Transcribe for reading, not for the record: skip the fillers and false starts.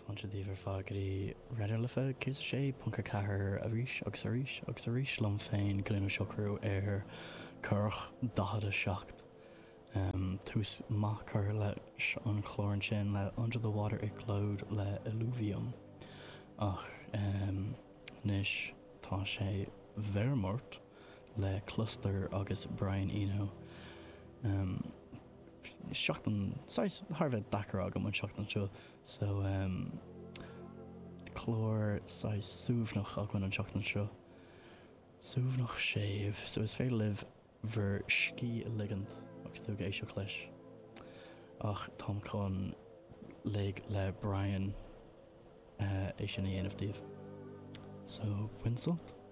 Fáilte daoibh ar fad go dtí Raidió na Life 106.4 arís agus arís agus arís liom féin, Cillian Ó Siochrú ar Currach 47. Tús maith curtha leis an chlár ansin le Under the Water It Glowed le Illuvium. Ach anois tá sé Wermut le Cluster agus Brian Eno. Seachtain saghas thar a bheith deacair agam an seachtain seo so clár saghas suaimhneach againn an seachtain seo. Suaimhneach séimh so is féidir libh bhur scíth a ligint agus tú ag éisteacht leis. Ach táim chun lig le Brian é sin a dhéanamh daoibh. So bain sult!